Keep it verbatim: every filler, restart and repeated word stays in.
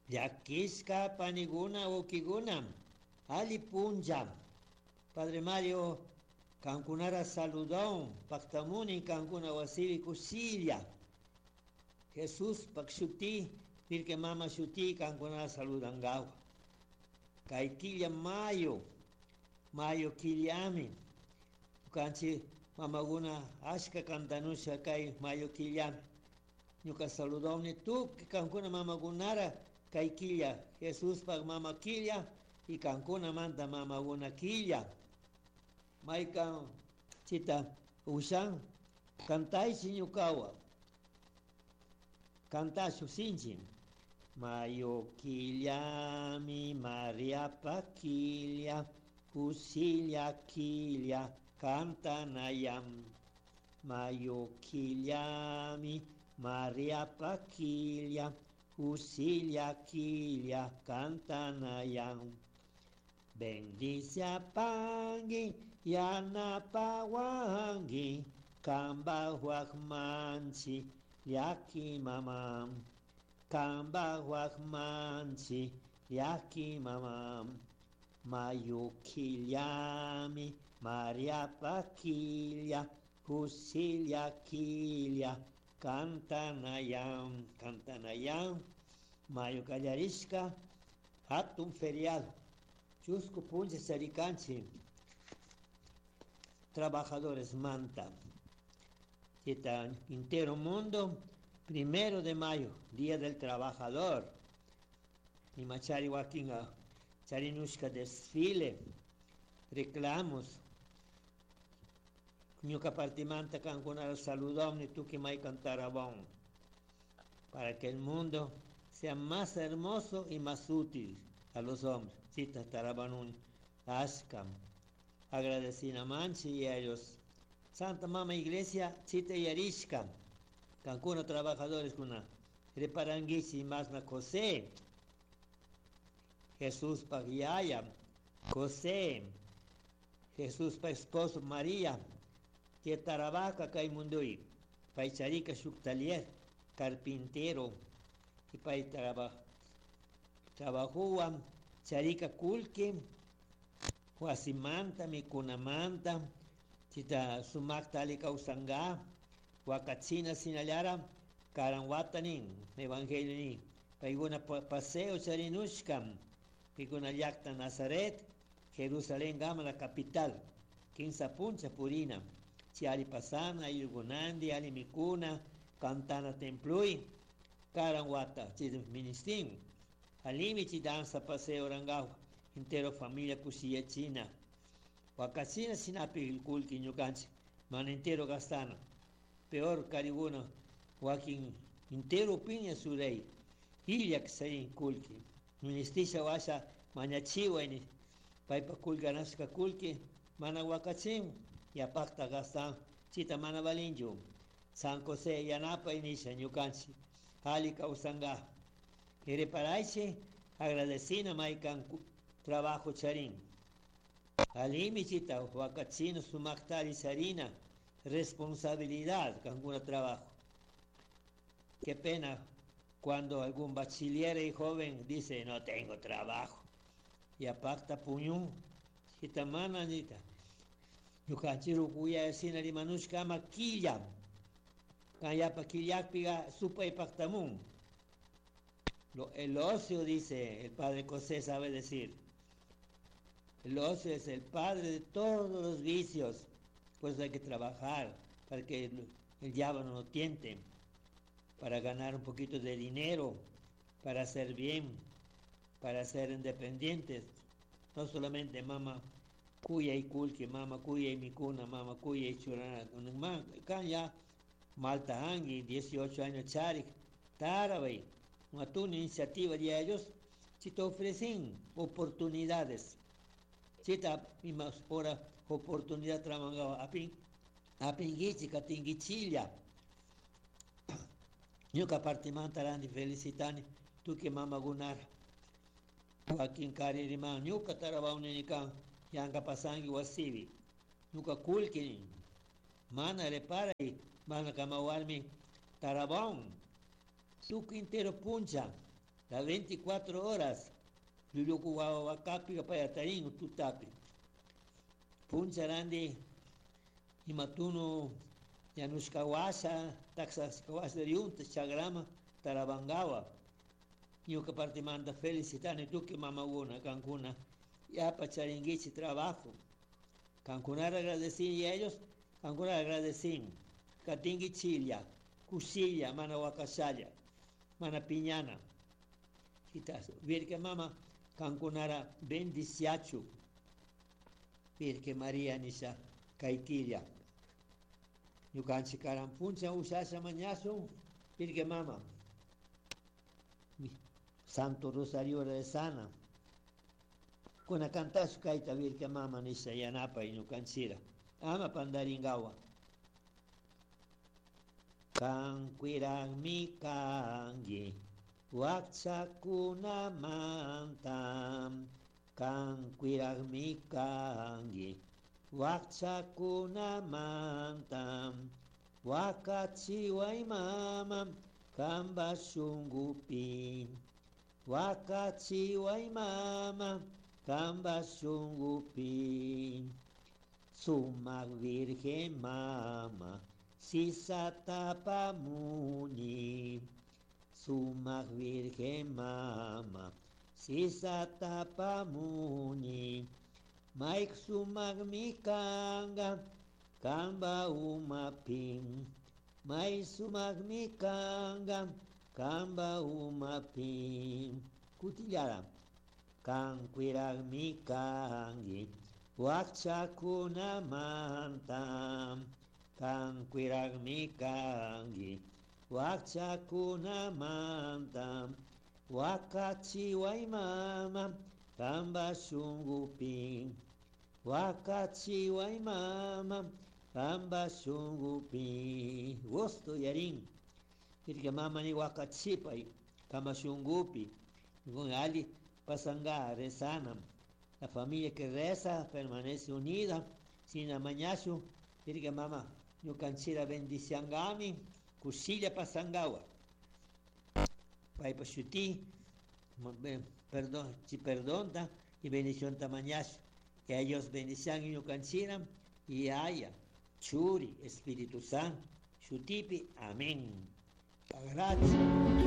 Llakishka paniguna wawkikuna alli punlla. Padre Mario kankunara saludon paktamuni kankuna wasipi kushilla. Jesús pak shuti Virgen Mama shuti kankunara saludangawa. Kay killa mayo, mayo killami. Ñukanchik mamakuna ashka kantanusha kay mayo killami. Ñuka saludoni tukuy kankuna mamakunara kay killa Jesuspak mama killa y kankunamanta mamakuna killa. Maykan chita ushan kantaychi ñukawan. Kantashu sinchi. Mayo killami Mariapa killa kushilla killa kantanayam. Mayo killami Mariapa killa kushilla killa kantanayam. Bendiciapangui yanapawanki kambaj manchi llaki mama. Kambaj manchi llaki mama. Mayo killami Mariapa killa kushilla killa kantanayam. Kantanayam. Mayo kallarishka hatun feriado. Chusku punlla charikanchik trabajadores manta. Chita entero mundo, primero de mayo, Día del Trabajador. Imachari wakinga charinushka desfile, reclamos. Ñuka partimanta kankunara saludón tukuy maykan tarabón. Para que el mundo sea más hermoso y más útil a los hombres. Chita tarabanun ashkam. Agradecina manchi y a ellos. Santa Mama Iglesia, chita yarishka. Kankuna trabajadores kuna. Reparanguichi masna José. Jesús pak yaya. José. Jesús pa esposo María. Que tarabaca kay mundui. Pay charika shuk taller, carpintero. Y pay traba, trabajuwan charika kullki, wasimanta, mikunamanta, chita sumakta ali kawsanga, wakachina sinallara, karan watanin, evangelio nin, paykuna paseo charinushkam, paykuna llakta Nazaret, Jerusalén gama la capital, kinsa puncha purina, chi ali pasana, ayllunandi, ali mikuna, cantana templui, karan wata, chi ministin, alimi chi danza paseo rangawa, entero familia kushiyachina, wakachina sinapi kullki ñukanchik, mana entero gastana, peor kariguna, wakin entero piña suray, illak sayin kullki, ministisha washa mañachiway paypa kullkanashka kullki mana wakachin, yapakta gastan, chita mana valinchu, San José yanapay nisha ñukanchik, ali kawsanga, reparaychi agradecina maykan trabajo charin, alimi chita wakachina sumaktari charina, responsabilidad kankuna trabajo. Qué pena cuando algún bachiller y joven dice no tengo trabajo. Y apakta puñun, chita mana nita. Ñukanchik rukuya sina rimanushka ama killa. Kan yapa killakpiga supay paktamun. Lo, el ocio, dice el padre José, sabe decir. El ocio es el padre de todos los vicios. Por eso hay que trabajar para que el, el diablo no nos tiente, para ganar un poquito de dinero, para hacer bien, para ser independientes. No solamente mama kuya y kullki, mama kuya y mikuna, mama kuya y churana. Ya malta hangi, dieciocho años charik, tarabay. Una iniciativa de ellos, si te ofrecen oportunidades. Chita misma hora oportunidad trabajaba apin apinguichi katinguichilla. Ñuka partimanta randi felicitani tukuy mamakunara. Wakin kaririman ñuka tarabawninikan yanka pasangi wasipi. Ñuka kullki mana reparay mana kama warmi tarabawn. Tukuy entero puncha. Las veinticuatro horas llulluku wawa wakapika pay atarin tutapi. Puncharandi imatunu yanushka washa, taxashka washa riunta chagrama tarabangawa. Ñuka partimanta felicitani tukuy mamakuna kankuna yapa charinguichi trabajo. Kankunara agradecin y ellos kankunara agradecin. Katingi chilla, kushilla, mana wakashalla, mana piñana. Virgen Mama, kankunara bendiciachu. Virgen María nisha kaikilla. Ñukanchik karan puncha ushasha mañasun, Virgen Mama. Santo Rosario rezana. Kuna cantashu kaita Virgen Mama nisha yanapa ñukanchira. Ama pandaringawa. Kan cuiragmi kangi, wakchakunamanta. Kan cuiragmi kangi, wakchakunamanta. Wakachiway mama, kamba shungupi. Wakachiway mama, kamba shungupi. Sumak Virgen Mama, sisatapamuni. Sumak Virgen Mama, sisatapamuni. Maik sumak mikanga, kamba umapin. May sumak mikanga, kamba umapin. Kutillara. Kan cuirag mikangi, wakchakunamanta. Kan cuirag mikangi, wakchakunamanta. Wakachiway mama, kamba shungupi. Wakachiway mama, kamba shungupi. Gusto yarin. Irka mama ni wakachipay, kamba shungupi. Con ali pasanga rezana. La familia que reza permanece unida. Sin amañasu, irka mama, ñukanchira bendiciangami, kushilla pasangawa. Paypa shuti, perdón, chi perdonta y bendición tamañasu. Que ellos bendician y ñukanchira y haya, churi, Espíritu Santo, shutipi, amén. Gracias.